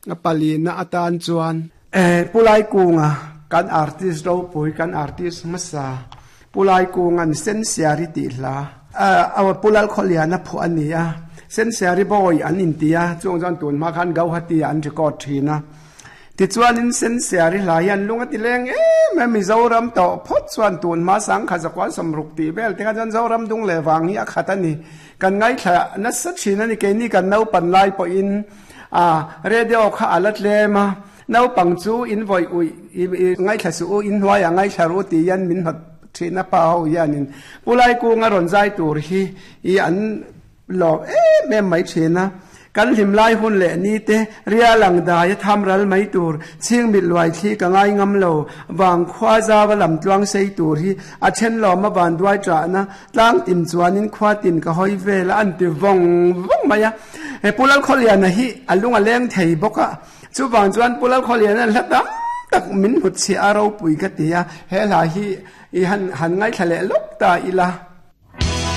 A palina atan chuan Pu Laikunga kan artist ropui kan artist hmasa Pu Laikunga'n Sensiari tih hla Pu Lalkhawliana phuah a ni a, Sensiari Boy an inti a, chung chuan tun hma khan Gauhati ah an record thin a. Tichuanin Sensiari hla hian lung a ti leng em em, Mizoram tawh phawt chuan tun hma sangkhat zakua sawmruk tih vel te kha chuan Zoram dung leh vang hi a khat a ni. Kan ngaithla nasa thin a ni, keini kan naupan lai pawhin a radio kha a la tlem a, naupang chu in vawi uih i ngaithla suh u, in hnuaiah ngaithla ru tih hian min hnawt thin a pa ho hianin Pu Laikunga rawn zai tur hi i an lawm em em mai thin a, kan hlim lai hun leh ni te rial ang dai a tham ral mai tur chhing mit luai thli ka ngai ngam lo vang khua zau a lam tluang sei tur hi a then lawm a van duai ṭahna Tlang tin chuanin khua tin ka hawi vel a, an ti vawng vawng mai a. He Pu Lalkhawliana hi a lung a leng thei bawk a, chuvang chuan Pu Lalkhawliana hla tam tak min hnutchhiah a ropui ka ti a, he hla hi i han han ngaithla leh lawk ta ila.